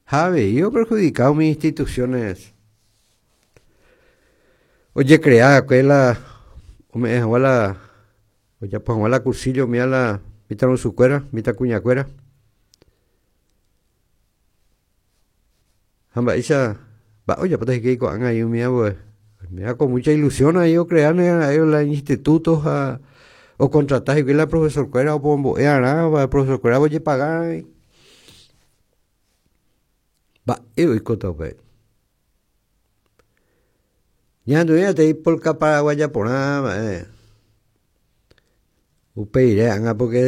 Ha avei operhudika umi instituciones ojecrea va'ekue la ome'ẽ hag̃ua la ojapo hag̃ua la cursillo umíva la mitãrusukuéra, mitãkuñakuéra. Ha mba'éicha mba'e ojapóta hikuái ko'ág̃a aí umi ambue. Oiméva con mucha ilusión aí ocreáne ra'e la instituto ha ocontrata hikuái la profesor-kuéra opombo'e arã, profesor-kuéra ojepaga avei. Mba'e oikóta upéi. Ñahendu'i peteĩ polka paraguaya porã mba'e. Upeire ág̃a porque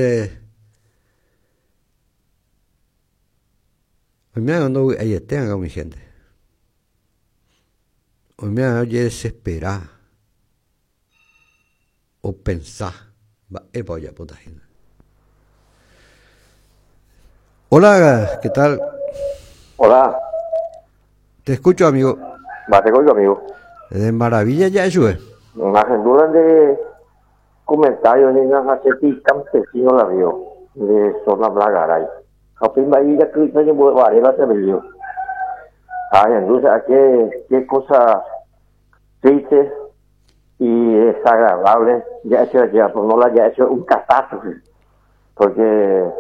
Oiméva ndovy'aiete anga umi hénte. Oiméva ojedesespera, opensa mba'épa ojapóta hína. Hola, ¿qué tal? Hola. Te escucho, amigo. Mba'éiko, amigo. De maravilla ja'e chupe. Ahendúva nde comentario nina ha che ti campesino la río de zona Blagaray. Ha upéi mba'e ijaky'ỹi ñembo'evaréva che río. Ha ahendu che qué, qué cosa triste y desagradable ja'e che ajéva, por no la ja'e che un catástrofe. Porque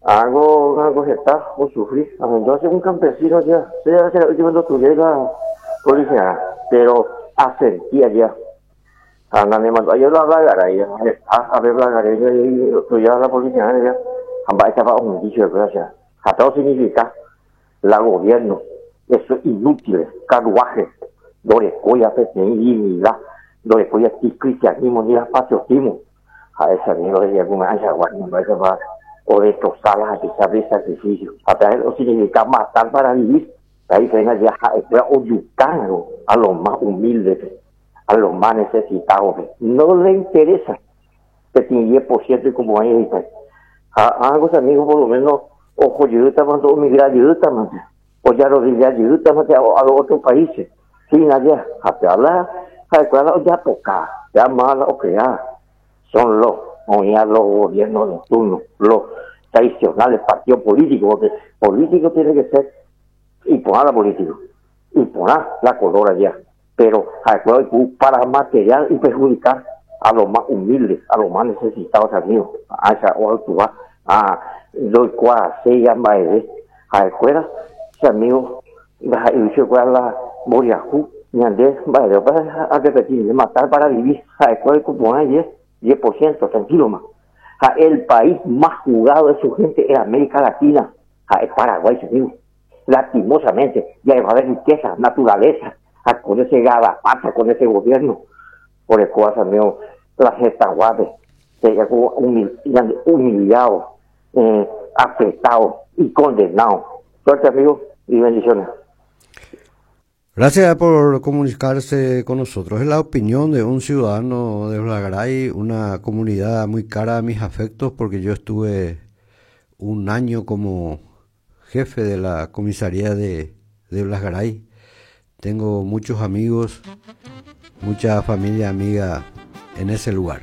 algo, algo heta osufri. Ahendu che un campesino ajéva, che che ra'y jepe ndotuviái la policía, pero asentí ajéva. Ha nanemandu'ái la Blagaray, heta ave Blagaray ostudia la policía ajéva, ha mba'éichapa ohundi chupekuéra che. Ha péva osignifica la gobierno, eso inútiles, carruaje, ndorekóiva peteĩ dignidad, ndorekóiva ti cristianismo ni la patriotismo. Ha'e che amigo he'i kuña'ãichagua mba'éichapa odestroza la hapicha pe sacrificio. Ha péva osignifica matar para vivir. La diferencia ha'ekuéra ojukárõ a lo más humilde-pe, a lo más necesitado-pe. No le interesa peteĩ diez por ciento ikomo'ãi hikuái. Ha ág̃a che amigo por lo menos oho jeýtamante, omigra jeýtamante, ojarodilla jeýtamante a los otros países. Sin allá. Ha péva la ha'ekuéra la ojapoka, péva máva la ocrea. Son los oĩva los gobiernos de turno, los tradicionales partidos políticos, porque político tiene que ser iporã la político, iporã la color allá, pero ha'ekuéra oiporu para material y perjudicar a los más humildes, a los más necesitados, amigo. Áicha oactúa, ah, ndoikuaaséiva mba'eve. Ha'ekuéra, che amigo, ndaha'éi chupekuéra la mboriahu, ñande mba'eve opa arrepeti, matar para vivir, ha'ekuéra oiko porã 10, 10%, tranquilo-ma. Ha el país más jugado de su gente en América Latina ha'e Paraguay, che amigo. Lastimosamente, ja'eguave riqueza, naturaleza, ha con ese garrapata, con ese gobierno, orekóva che amigo la hetãguápe, he'íva ñande humillado, apretado y condenado. Suerte, amigo, y bendiciones. Gracias por comunicarse con nosotros. Es la opinión de un ciudadano de Blagaray, una comunidad muy cara a mis afectos, porque yo estuve un año como jefe de la comisaría de, de Blas Garay. Tengo muchos amigos, mucha familia amiga en ese lugar.